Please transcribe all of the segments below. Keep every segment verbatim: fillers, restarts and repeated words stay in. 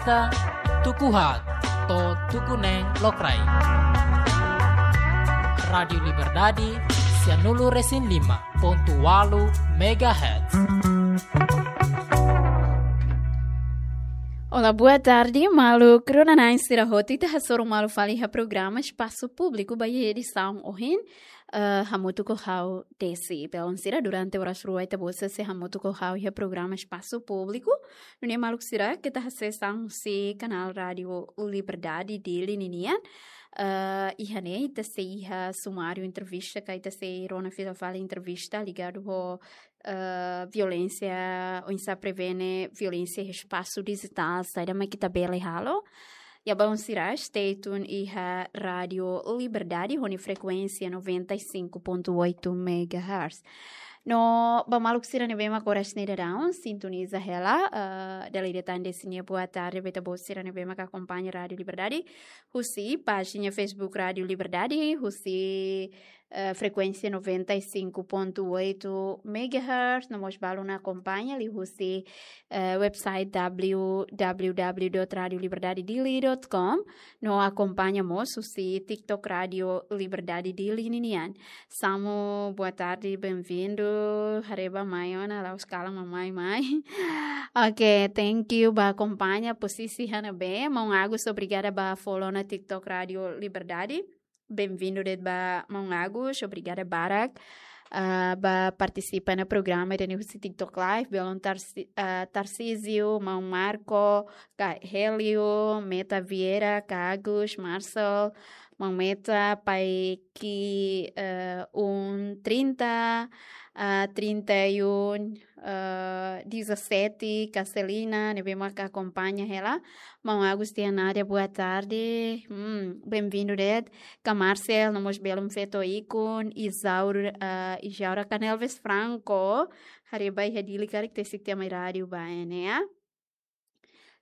Ka tuku haat to'o tuku neen lokraik. Rádiu Liberdade, sianulu resin lima pontu ualu megahertz. Olá, boa tarde, maluk rona-na'in sira hotu. Ita hasoru malu fali iha programa Espasu Públiku ba iha edisaun ohin, eh, hamutuk ho ha'u Desi. Belun sira, durante oras rua ita-boot sei hamutuk ho ha'u iha programa Espasu Públiku. Nune'e maluk sira, ita asesu husi kanál Rádiu Liberdade Dili ninian. Eh, iha ne'e ita sei iha sumáriu entrevista, ka ita sei rona fila fali entrevista ligadu ho, eh, violénsia, oinsá prevene violénsia iha espasu dijitál, saida mak ita bele halo. Ya, belun sira, stay tune iha Rádiu Liberdade, ho nia frekuénsia noventa e cinco ponto oito megahertz. No, ba maluk sira ne'ebé mak oras ne'e daudaun sintoniza hela, eh, dala ida tan Desi nia boa tarde ba ita-boot sira ne'ebé mak akompaña Rádiu Liberdade husi pájina Facebook Rádiu Liberdade, husi, eh, frekuénsia noventa e cinco ponto oito megahertz, no mós balun akompaña liuhusi, eh, website w w w dot radio liberdade dili dot com, no akompaña mós husi TikTok Rádiu Liberdade Dili ninian. Samu, boa tarde, bem-vindo. Haree ba mai ona, la'ós kalan mak mai, mai. Ok, thank you ba akompaña, posisi iha ne'ebé. Maun Agus, obrigada ba follow ona TikTok Rádiu Liberdade. Bem-vindo de'it ba maun Agus, obrigada barak, ah, ba partisipa iha programa ida-ne'e husi TikTok Live, belun Tarsi-, ah, Tarcísio, maun Marco, ka Hélio, Meta Vieira, ka Agus, Marcel, maun Meta, Pai Ki, eh, um trinta, ah, trinta e um, eh, dezassete, ka Celina, ne'ebé mak akompaña hela. Maun Agus, Tia Nádia, boa tarde. Hmm, bem-vindo de'it. Ka Marcel, no mós belun feto ikun, Isaura, ah, Isaura ka Nelves Franco. Haree ba iha Dili karik, tesik tiha mai rádiu ba ne'e, ya.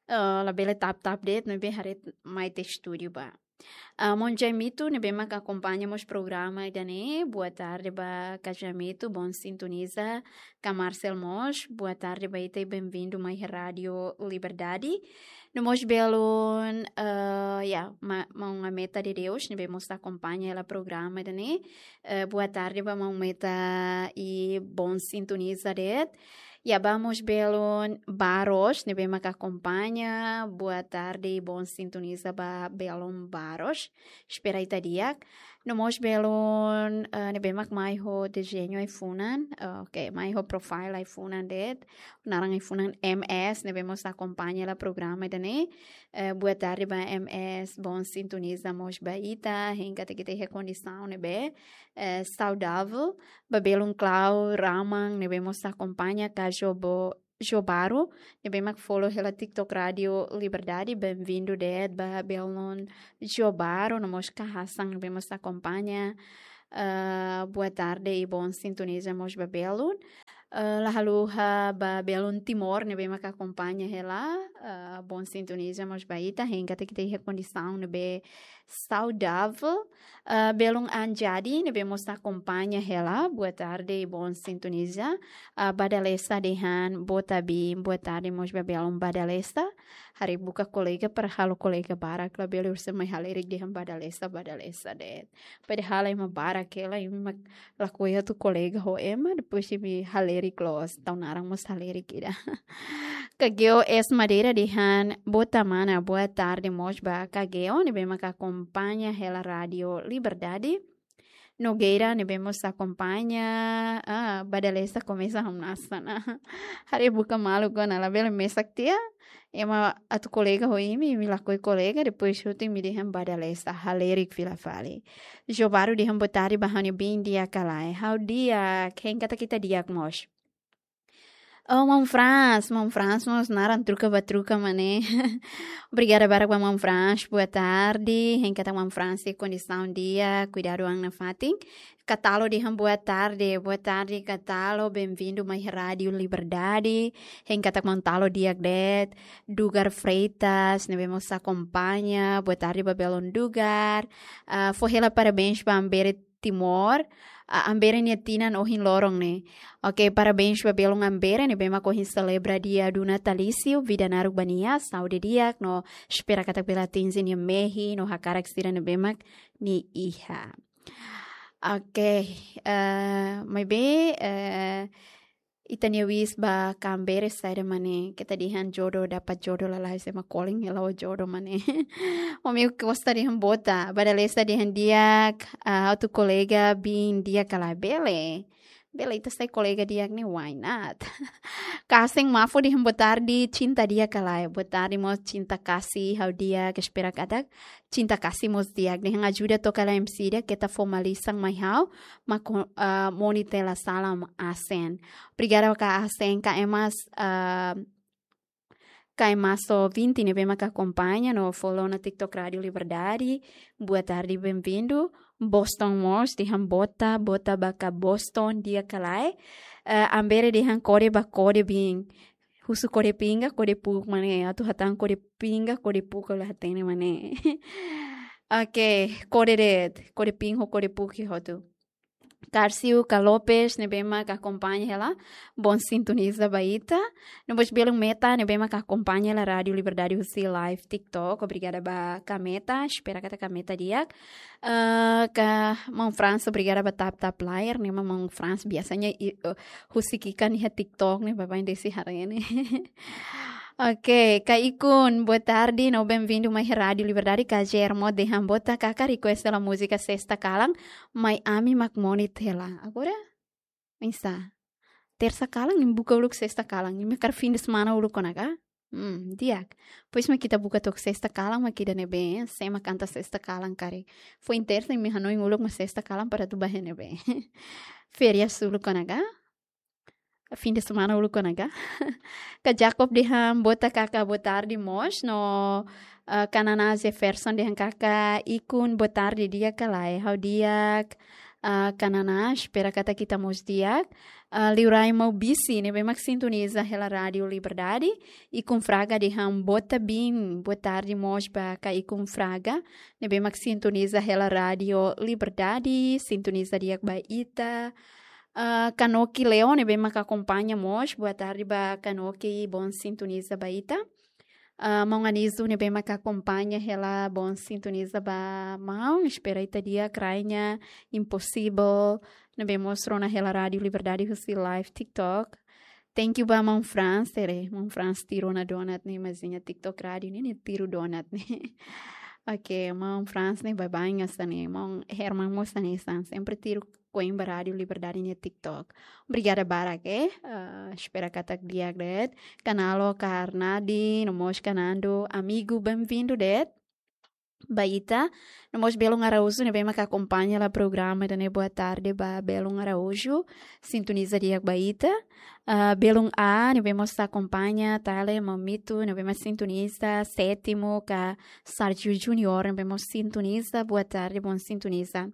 Eh, labele tap-tap de'it, ne'ebé haree mai iha estúdiu ba. Ah, maun Jaimito, ne'ebé mak akompaña mós programa ida-ne'e. Boa tarde ba ka Jaimito, bom sintoniza. Ka Marcel mós, boa tarde ba ita i bem-vindo mai iha Rádiu Liberdade. No mós belun, eh, ya, ma-, maun Meta de Deus, ne'ebé mós akompaña hela programa ida-ne'e. Eh, boa tarde ba maun Meta i bom sintoniza de'it. Ya, ba mós belun Baros, ne'ebé mak akompaña. Boa tarde i bom sintoniza ba belun Baros. Espera ita di'ak. No mós belun, eh, ne'ebé mak mai ho dezeñu ai-funan. Eh, ok, mai ho profile ai-funan de'it. Naran ai-funan M S, ne'ebé mós akompaña hela programa ida-ne'e. Eh, boa tarde ba M S, bom sintoniza mós ba ita, hein katak ita iha kondisaun ne'ebé, eh, saudável. Ba belun Clau Raman, ne'ebé mós akompaña, ka Jobo-, Jobaro, ne'ebé mak follow hela TikTok Rádiu Liberdade, bem-vindo de'it ba belun Jobaro, no mós ka Hasan, ne'ebé mós akompaña. Ah, boa tarde i bom sintoniza mós ba belun. Ah, la haluha ba belun Timor, ne'ebé mak akompaña hela. Ah, bom sintoniza mós ba ita, hein katak ita iha kondisaun ne'ebé saudável. Ah, belun Anjadi, ne'ebé mós akompaña hela. Boa tarde i bom sintoniza. Ah, Badalesa dehan, boa tarde, boa tarde mós ba belun Badalesa. Haree buka kolega para halo kolega barak, labele orsida mai halerik dehan Badalesa, Badalesa de'it. Padahal ema barak hela, imi mak lakohi atu kolega ho ema, depois imi halerik loos, tau naran mós halerik ida. Ka Geo S Madeira dehan, boa ta mana, boa tarde mós ba ka Geo, ne'ebé mak akompaña hela Rádiu Liberdade. Nogueira, ne'ebé mós akompaña, ah, Badalesa komesa hamnasa ona. Haree buka maluk ona, labele mesak tiha. Ema atu kolega ho imi, imi lakohi kolega, depois hotu imi dehan Badalesa, halerik fila fali. Jobaro dehan boa tarde ba ha'u-nia biin di'ak ka lae. Ha'u di'ak, hein katak ita di'ak mós. Oh, maun Frans, maun Frans mós naran troka ba troka mak ne'e. Obrigada barak ba maun Frans, boa tarde. Hein katak maun Frans iha kondisaun di'ak, kuidadu an nafatin. Katalo dehan boa tarde, boa tarde Katalo, bem-vindo mai Rádiu Liberdade. Hein katak maun Talo di'ak de'it. Dugar Freitas, ne'ebé mós akompaña, boa tarde ba belun Dugar. Ah, fó hela parabéns ba Ambere Timor. a, Ambere nia tinan ohin loron ne'e. Oke, parabéns ba belun Ambere ne'ebé mak ohin selebra dia do natalício, vida naruk ba nia, saúde di'ak no espera katak bele atinje nia mehi no hakarak sira ne'ebé mak nia iha. Oke, eh, maibé, eh, ita-nia wish ba Ambere saida mak ne'e, keta dehan jodoh, dapat jodoh lalais ema calling hela ho jodoh mak ne'e. Ami gosta dehan bota, ba dala ruma dehan di'ak, ah, ha'u-nia kolega biin di'ak ka lae, bele. Bele ita sai kolega di'ak ne'e, why not? Kasen Mafo dehan boa tarde, cinta di'ak ka lae. Boa tarde mós cinta kasih, ha'u di'ak, espera katak cinta kasih mós di'ak. Dehan ajuda toka la M C ida, keta fó malisan mai ha'u, mak, ah, Moni hela salam Asen. Obrigada ka Asen, ka Emas, ah, ka Emaso vinte ne'ebé mak akompaña no follow ona TikTok Rádio Liberdade. Boa tarde, bem-vindo. Boston mós dehan bota, bota ba ka Boston di'ak ka lae. Eh, Ambere dehan kode ba kode biin. Husu kode pinga, kode puuk mak ne'e. Atu hatán kode pinga, kode puuk la hatene mak ne'e. Oke, kode de'it, kode pinga, kode puuk hotu. Carcio ka Lopes ne'ebé mak akompaña hela, bom sintoniza ba ita. No mós belun Meta ne'ebé mak akompaña hela Rádio Liberdade husi live TikTok. Obrigada ba ka Meta, espera katak ka Meta di'ak. Eh, ka maun Frans, obrigada ba tap tap layar ne'e, maun Frans biasanya i-, eh, husik ikan iha TikTok ne'e, baibain desik haree ne'e. Oke, ka Ikun, boa tarde, no bem-vindo mai Rádio Liberdade, ka Germo dehan bota kaka request hela múzika Sesta Kalan, mai ami mak Moni hela. Agora, pensa. Tersa kalan, imi buka uluk Sesta Kalan, imi hakarak fim de semana uluk kona ka? Hmm, di'ak. Depois mak ita buka took Sesta Kalan, mak ida ne'ebé, sé mak kanta Sesta Kalan karik. Foin tersa, imi hanoin uluk mak Sesta Kalan para atu bá iha ne'ebé. Férias uluk kona ka? Fim de semana uluk kona ka? Ka Jacob dehan bota kaka boa tarde mós, no, eh, ka Naná Jefferson dehan kaka Ikun boa tarde di'ak ka lae, ha'u di'ak, eh, ka Naná, espera katak ita mós di'ak. Eh, Liurai Maubisi ne'ebé mak sintoniza hela Rádio Liberdade. Ikun Fraga dehan bota biin, boa tarde mós ba ka Ikun Fraga ne'ebé mak sintoniza hela Rádio Liberdade, sintoniza di'ak ba ita. Ah, Kanoki Leone ne'ebé mak akompaña mós, boa tarde ba Kanoki, bom sintoniza ba ita. Ah, maun Anisu ne'ebé mak akompaña hela, bom sintoniza ba maun, espera ita di'ak, Rainha Impossible ne'ebé mós rona hela Rádio Liberdade husi live TikTok. Thank you ba maun Frans, tere, maun Frans tiru ona donat ne'e, mazinha TikTok Rádio ne'e, ne'e tiru donat ne'e. Oke, maun Frans ne'e baibain hanesan ne'e, maun Herman mós hanesan, sempre tiru koin ba Rádio Liberdade nia TikTok. Obrigada barak, eh. Ah, espera katak di'ak de'it. Ka Nalo, ka Arnadi, no mós ka Nando, amigu, bem-vindo de'it ba ita. No mós belun Araújo ne'ebé mak akompaña hela programa ida-ne'e, boa tarde ba belun Araújo, sintoniza di'ak ba ita. Ah, belun A ne'ebé mós akompaña, Tale, Mamito ne'ebé mak sintoniza, Sétimo, ka Sérgio Junior ne'ebé mós sintoniza, boa tarde, bom sintoniza.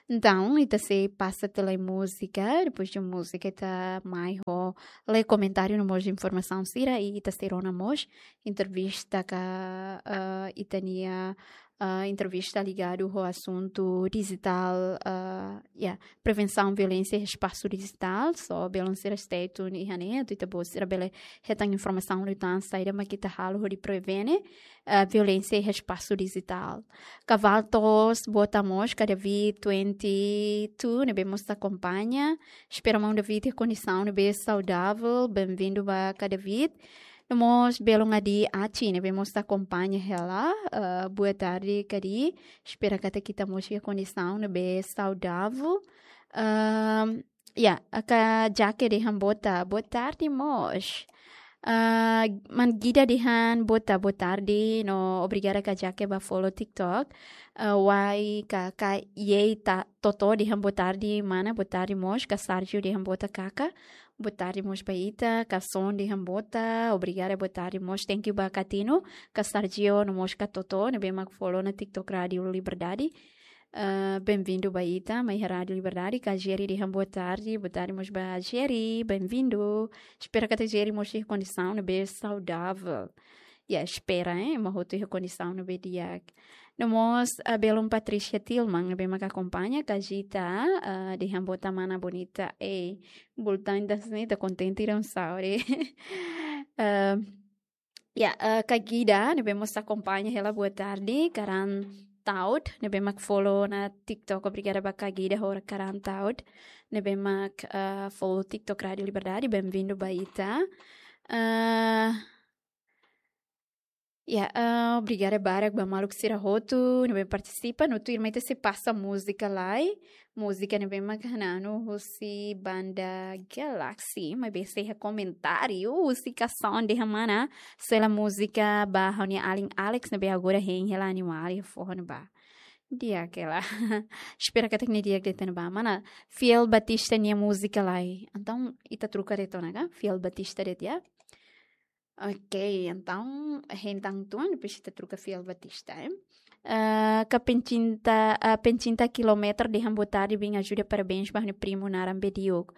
Entaun, ita sei pasa tiha lai múzika, depois de múzika ita mai ho lee komentáriu no mós informasaun sira, i ita sei rona mós entrevista ka, ah, ita-nia, ah, entrevista ligadu ho asuntu dijitál, ah, ya, prevensaun violénsia iha espasu dijitál, so belun sira stay tune iha ne'e, atu ita-boot sira bele hetan informasaun liután saida mak ita halo hodi prevene, ah, violénsia iha espasu dijitál. Ka Valtos, boa tarde mós, ka David twenty two ne'ebé mós akompaña. Espera maun David iha kondisaun ne'ebé saudável, bem-vindo ba ka David. No mós belun Adi Aci ne'ebé mós akompaña hela, ah, boa tarde ka Adi. Espera katak ita mós iha kondisaun ne'ebé saudável. Ahm, ya, ka Jake dehan bota, boa tarde mós. Ah, maun Gida dehan bota, boa tarde, no obrigada ka Jake ba follow TikTok. Ah, Wai ka, ka Yei ta Toto dehan boa tarde mana, boa tarde mós, ka Sérgio dehan bota kaka. Boa tarde mós ba ita, ka Son dehan bota, obrigada, boa tarde mós, thank you ba ka Tino, ka Sérgio, no mós ka Toto, ne'ebé mak follow ona TikTok Rádio Liberdade. Ah, bem-vindo ba ita, mai iha Rádio Liberdade, ka Jerry dehan boa tarde, boa tarde mós ba Jerry, bem-vindo. Espera katak Jerry mós iha kondisaun ne'ebé saudável. Ya, espera, eh, ema hotu iha kondisaun ne'ebé di'ak. No mós, ah, belun Patricia Tilman, ne'ebé mak akompaña, Kajita, ah, dehan boot mana bonita, eh, bultan das ni, ita kontente ida un saure. Ah, ya, ah, Kagida, ne'ebé mós akompaña hela, boa tarde, Karan Taud, ne'ebé mak follow ona TikTok, obrigada ba Kagida, hora Karan Taud, ne'ebé mak, ah, follow TikTok Rádio Liberdade, bem-vindo ba ita. Ah, Ya, ah, obrigada barak ba maluk sira hotu ne'ebé partisipa, no tuirmai ita sei pasa múzika lai. Múzika ne'ebé mak hananu husi banda Galaxy, maibé sei iha komentáriu husi Kason dehan mana, sela múzika ba ha'u-nia alin Alex ne'ebé agora hein hela animál iha foho ne'ebá. Di'ak hela. Espera katak nia di'ak de'it ona ba. Mana, Fiel Batista nia múzika lai. Entaun, ita troka de'it ona ka? Fiel Batista de'it, ya. Ok, entaun, hein tan tuan, depois ita troka Fiel Batista, eh. Ah, ka Pencinta, ah, Pencinta Kilometer dehan boa tarde, bem ajuda, parabéns ba ha'u-nia primu naran Bediuk.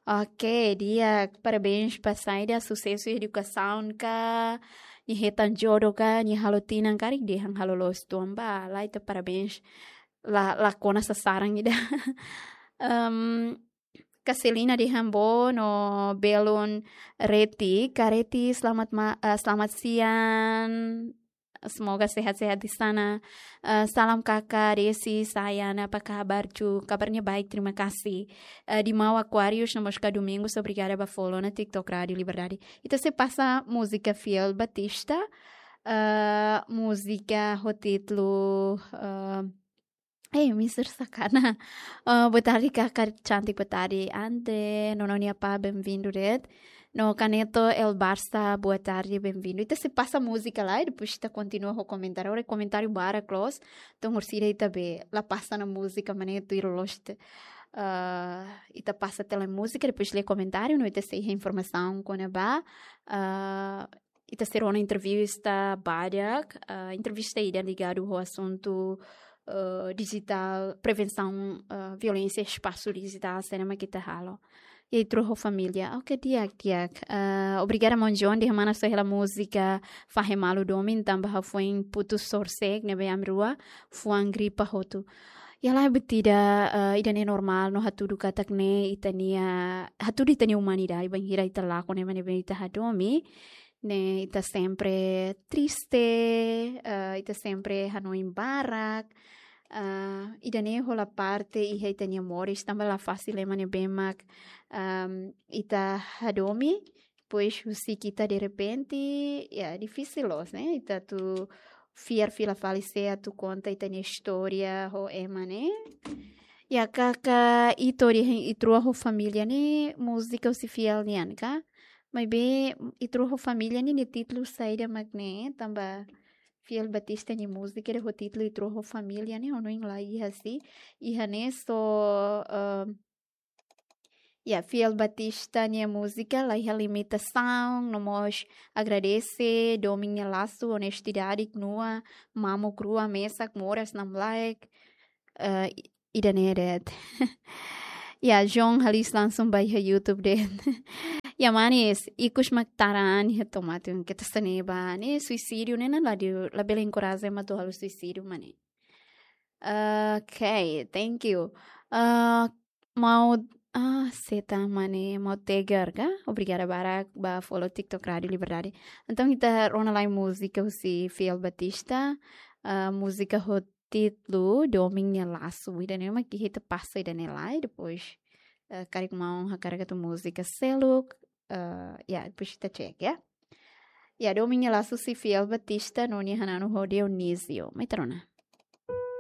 Ok, di'ak, parabéns ba saida, susesu edukasaun ka, nia hetan jodoh ka, nia halo tinan karik, dehan halo loos tuan ba, la ita parabéns, la, la kona sasaran ida. Em, Kaselina dehan boot no belun Reti, Ka Reti, selamat ma-, eh, selamat siang. Semoga sehat-sehat di sana. Eh, salam kakak, Desi, sayang, apa kabar, cu? Kabarnya baik, terima kasih. Eh, di Mau Aquarius, no mós Ka Domingos, obrigada ba follow ona TikTok Rádio Liberdade. Ita sei pasa múzika Fiel Batista, eh, múzika ho títulu, eh, eh, Mister Sakana. Eh, boa tarde, kakak cantik, boa tarde. Ante, nono nia pá, bem-vindo de'it. No Kaneto El Barça, boa tarde, bem-vindo. Ita sei pasa múzika lai, depois ita kontinua ho komentáriu. Ora komentáriu barak loos, entaun orsida ita be la pasa ona múzika, maibé tuir loos ita, ah, ita pasa tiha lai múzika, depois lee komentáriu, no ita sei iha informasaun kona-ba, ah, ita sei rona entrevista badak, ah, entrevista ida ligadu ho asuntu, eh, dijitál, prevensaun, eh, violénsia espasu dijitál, saida mak ita halo. I ita rua ho família. Ok, di'ak, di'ak. Eh, obrigada, maun John, dehan mana só hela múzika fahe malu domin, tanba ha'u foin putus sorsek, ne'ebé ami rua fuan gripa hotu. Ya la, buat ida, eh, ida-ne'e normál, no hatudu katak ne'e ita-nia, hatudu ita-nia umanidade, bainhira ita lakon ema ne'ebé ita hadomi, ne'e ita sempre triste, eh, ita sempre hanoin barak, eh, ida-ne'e hola parte iha ita-nia moris, tanba la fasil ema ne'ebé mak, ehm, ita hadomi, depois husik ita derrepente, ya, difisil loos, ne'e? Ita atu fiar fila fali sé atu konta ita-nia istória ho ema ne'e. Ya, kakak Ito dehan ita rua ho família ne'e múzika husi Fiel nian ka? Maibé ita rua ho família ne'e, ne'e títulu saida mak ne'e, tanba Fiel Batista nia múzika ida ho títulu ita rua ho família ne'e, ha'u hanoin la iha, se iha ne'e só, eh, ya, Fiel Batista nia múzika la iha limitasaun, no mós agradese domin nia lasu, onestidade, knua, mamuk rua, mesak, moras, namlaek, eh, i-, ida-ne'e de'it. Ya, João Halis langsung ba iha YouTube de'it. Ya, manis, ikus mak tara an iha to'o mate, keta sene ba, ne'e suisídiu, ne'e, ne'e la di, labele enkoraja ema atu halo suisídiu, manis. Ok, thank you. Ah, mau, ah, seta mane mau tegar ka? Obrigada barak ba follow TikTok Rádio Liberdade. Entaun ita rona lai múzika husi Fiel Batista, ah, múzika ho títulu Domin nia Lasu. Ida-ne'e mak ita pasa ida-ne'e lai, depois, ah, karik maun hakarak atu múzika seluk, ah, ya, depois ita cek, ya. Ya, Domin nia Lasu husi Fiel Batista, no nia hananu ho Dionísio. Mai ita rona.